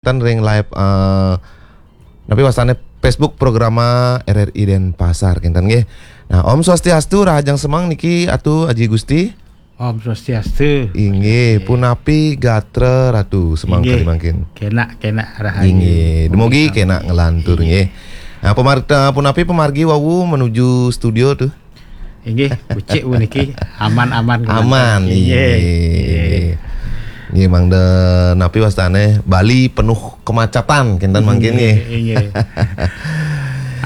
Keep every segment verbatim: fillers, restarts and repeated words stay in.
Ten ring live, eh, napi wastane Facebook programa R R I Denpasar kinten nggih. Nah, Om Swastiastu, rahajeng semeng niki Atu Aji Gusti. Om Swastiastu. Inggih, punapi gatra Ratu, semeng kadi mangkin? Kenak, kenak rahayu. Inggih, dumugi kenak nglantur nggih. Nah, pemar-, eh, punapi pamargi wau menuju studio tuh? Inggih, becik puniki aman-aman. Aman, inggih. Inggih. Inggih, mangda napi wastane Bali penuh kemacetan kinten mangkin nggih. Inggih.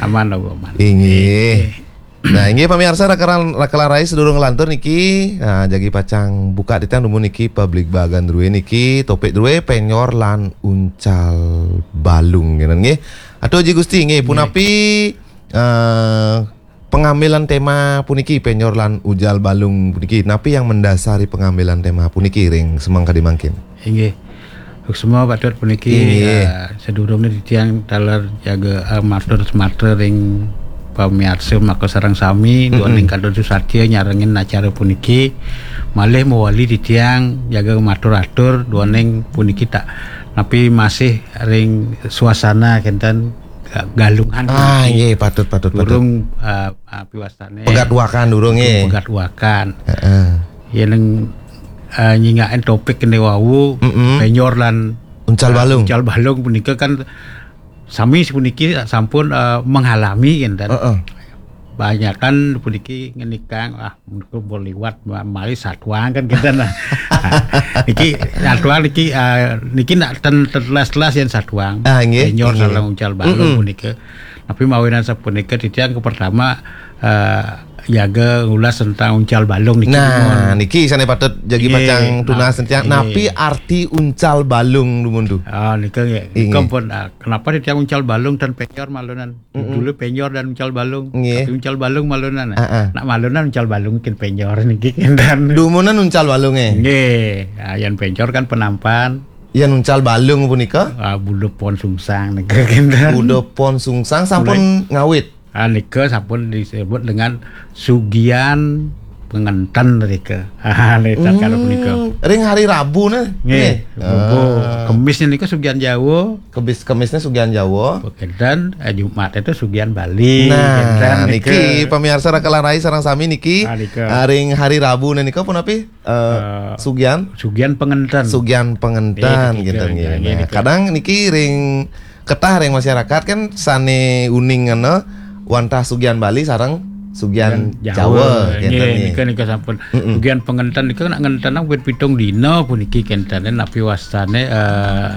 Aman, aman. Inggih. Nah, inggih pamirsa, raka-, raka larai, sedurung nglantur niki, nah, jagi pacang buka titiang dumun niki publik bagan druwe niki, topik druwe penyor lan uncal balung kinten nggih. Atu Aji Gusti nggih, punapi, eh, pengambilan tema puniki, penyor lan uncal balung puniki? Napi yang mendasari pengambilan tema puniki ring semeng kadi mangkin? Inggih. Suksma patut puniki, inggih, eh, sedurunge titiang taler jaga, eh, matur sematra ring pamiarsa maka sareng sami, duaning kantun susatya nyarengin acara puniki. Malih mawali titiang jaga matur-atur duaning puniki tak napi masih ring suasana kenten ga-, galungan. Ah, puniki. Inggih, patut, patut, patut. Durung, eh, api wastane. Pegat wakan durung, durung nggih. Pegat wakan. Heeh. Yen, eh, nyinggakin topik kene wau, penyor lan, uncal, eh, balung. Uncal balung punika kan sami puniki sampun, eh, mengalami kinten. Heeh. Banyakan puniki ngenikang, "Ah, menika liwat, ma-, malih satuang," kan kinten. Nah, niki satuang niki, eh, niki nak ten, ten telas-telas yen satuang. Ah, nggih, penyor nggih. Sareng uncal balung punika. Tapi mawinan sapunika titiang ke pertama, eh, jaga ngulas tentang uncal balung niki. Nah, dumun. Niki sane patut jagi, nggih, pacang tunas titiang. Nggih. Napi arti uncal balung dumun tu? Ah, nika nggih. Nika, inggih, pun, ah, kenapa titiang uncal balung dan penyor malunan? Dulu penyor dan uncal balung. Nggih. Tapi uncal balung malunan. Heeh. Nak malunan uncal balung kin penyor niki kinten. Dumunan uncal balunge. Nggih. Ah, yen penyor kan penampan. Yen uncal balung punika? Ah, buda pon sungsang nika kinten. Buda pon sungsang sampun ngawit. Ah, nika sampun disebut dengan sugian pengenten nika. Ah, nika kalau punika. Ring hari Rabu nah. Nggih. Nggih. Rabu. Ah. Kemis nika sugian Jawa. Kemis, kemisnya sugian Jawa. Pengenten, eh, Jumat itu sugian Bali. Nah, kinten nika. Niki pamirsa raka larai sareng sami niki. Ah, nika. Ah, ring hari Rabu nah nika punapi? Eh, eh, sugian? Sugian pengenten. Sugian pengenten, nggih, kinten nggih, nggih. Nah, nika. Kadang niki ring ketah ring masyarakat kan sane uning ngena wantah sugian Bali sareng sugian Jawa, Jawa, kinten nggih, nggih. Nika, nika sampun. Mm-mm. Sugian pengenten nika nak ngenten wit pitung dina puniki kinten napi wastane, eh,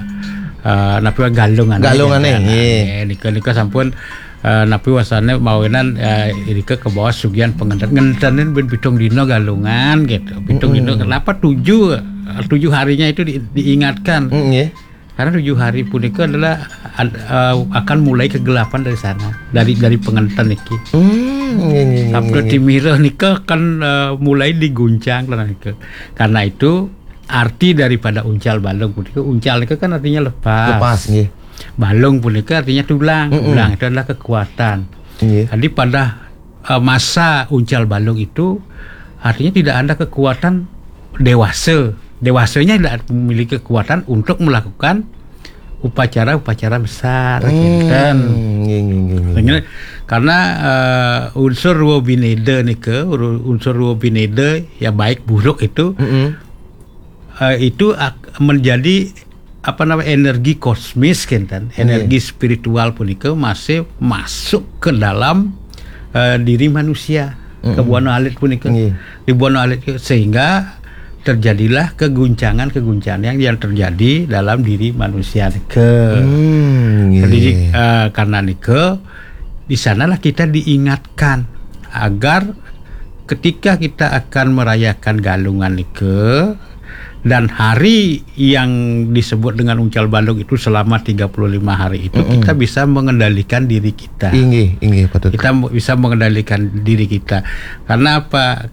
eh, napi wa-, galungane, galungane, kinten. Nggih. Nggih, nika, nika sampun, eh, napi wastane mawinan, eh, nika kebaos sugian pengenten. Ngentene ben pitung dina galungan gitu. Pitung dina, kenapa tujuh, eh, tujuh harinya itu di-, diingatkan? Mm, nggih. Karena tujuh hari punika adalah ad-, eh, akan mulai kegelapan dari sana, dari, dari pengenten niki. Hmm, nggih, nggih, nggih, sabda nggih, nggih. Timira nika kan, eh, mulai diguncang lah nika. Karena itu arti daripada uncal balung punika, uncal nika kan artinya lepas. Lepas, nggih. Balung punika artinya tulang. Mm-mm. Tulang itu adalah kekuatan. Nggih. Jadi pada, eh, masa uncal balung itu artinya tidak ada kekuatan dewasa. Dewasanya tidak memiliki kekuatan untuk melakukan upacara-upacara besar, hmm, kinten. Nggih, nggih, nggih, nggih. Karena, karena, eh, unsur ruwa bineda nika, uru-, unsur ruwa bineda ya baik buruk itu, mm-mm, eh, itu ak-, menjadi apa namanya, energi kosmis kinten, nggih, energi spiritual punika masih masuk ke dalam, eh, diri manusia, mm-mm, ke buana alit punika. Nggih. Di buana alit ke-, sehingga terjadilah keguncangan-keguncangan yang, yang terjadi dalam diri manusia nika. Hmm, nggih. Jadi, eh, karena nika, di sanalah kita diingatkan agar ketika kita akan merayakan galungan nika dan hari yang disebut dengan uncal balung itu selama tiga puluh lima hari itu, mm-mm, kita bisa mengendalikan diri kita. Inggih, inggih, patut. Kita mo-, bisa mengendalikan diri kita. Karena apa?